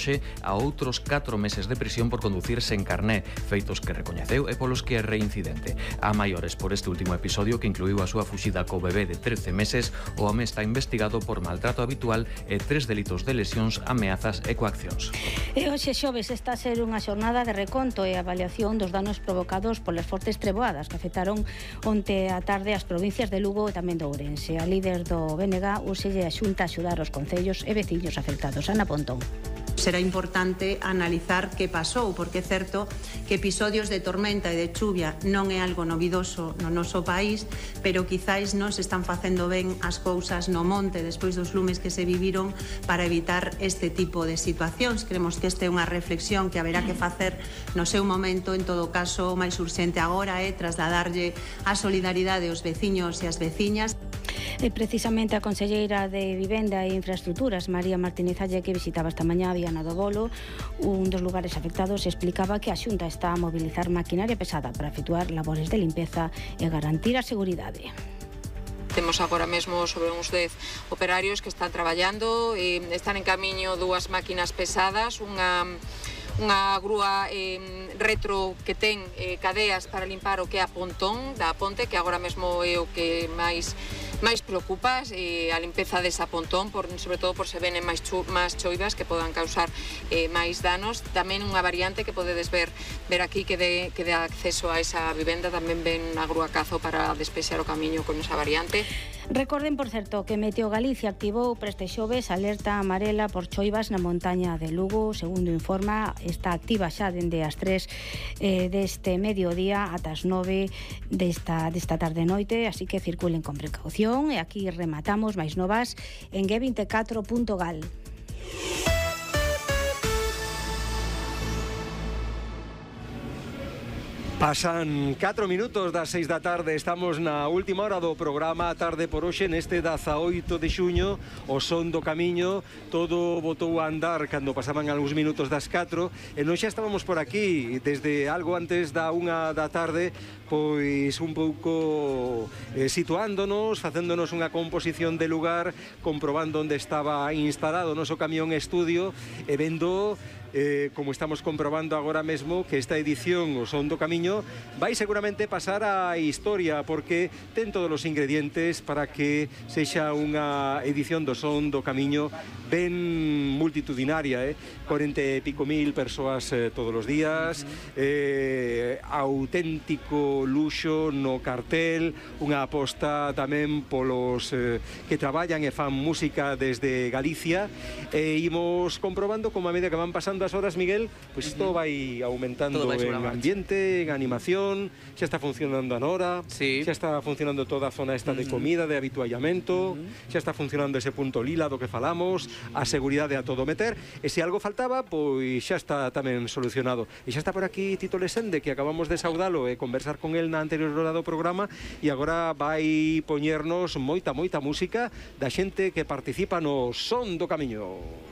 hoxe a outros 4 meses de prisión por conducir sen carné, feitos que recoñeceu e polos que é reincidente. A maiores por este último episodio que incluiu a súa fuxida co bebé de 13 meses, o home está investigado por maltrato habitual e 3 delitos de lesións, ameazas e coaccións. E hoxe xoves está a ser unha xornada de reconto e avaliación dos danos provocados polas fortes treboadas que afectaron onte a tarde as provincias de Lugo e tamén de Ourense. A líder do BNG úselle a Xunta a axudar os concellos e veciños afectados. Ana Pontón. Será importante analizar que pasou, porque é certo que episodios de tormenta e de chuvia non é algo novidoso no noso país, pero quizáis non se están facendo ben as cousas no monte despois dos lumes que se viviron para evitar este tipo de situacións. Creemos que esta é unha reflexión que haberá que facer no seu momento. En todo caso, o máis urxente agora é trasladarlle a solidaridade aos veciños e as veciñas. E precisamente a conselleira de Vivenda e Infraestructuras, María Martínez Alle, que visitaba esta mañá Viana do Bolo, un dos lugares afectados, explicaba que a Xunta está a mobilizar maquinaria pesada para efectuar labores de limpeza e garantir a seguridade. Temos agora mesmo sobre uns 10 operarios que están traballando, están en camiño 2 máquinas pesadas, unha grúa retro que ten cadeas para limpar o que é a pontón da ponte, que agora mesmo é o que máis preocupa, a limpeza desa pontón, sobre todo por se venen máis choivas que podan causar máis danos. Tamén unha variante que podedes ver aquí que dá acceso a esa vivenda, tamén ven a grúa cazo para despexar o camiño con esa variante. Recorden, por certo, que Meteo Galicia activou para este xoves alerta amarela por choivas na montaña de Lugo. Segundo informa, está activa xa dende as 3 deste mediodía ata as 9 desta tarde e noite, así que circulen con precaución. E aquí rematamos máis novas en g24.gal. Pasan 4 minutos das 6 da tarde, estamos na última hora do programa A Tarde por Hoxe, neste 18 de xuño, o son do camiño, todo botou a andar cando pasaban algúns minutos das 4, e nós xa estábamos por aquí, desde algo antes da 1 da tarde, pois un pouco situándonos, facéndonos unha composición de lugar, comprobando onde estaba instalado o noso camión estudio, e vendo como estamos comprobando agora mesmo, que esta edición, o Son do Camiño, vai seguramente pasar a historia, porque ten todos os ingredientes para que sexa unha edición do Son do Camiño ben multitudinaria, 40 e pico mil persoas todos os días, auténtico luxo no cartel, unha aposta tamén polos que traballan e fan música desde Galicia, e imos comprobando como a medida que van pasando as horas, Miguel, pois isto vai aumentando en ambiente, en animación, xa está funcionando a Nora, xa está funcionando toda a zona esta de comida, de habituallamento, xa está funcionando ese punto lila do que falamos, a seguridade a todo meter, e se algo faltaba, pois xa está tamén solucionado. E xa está por aquí Tito Lesende, que acabamos de saudalo e conversar con el na anterior hora do programa, e agora vai poñernos moita música da xente que participa no Son do Camiño.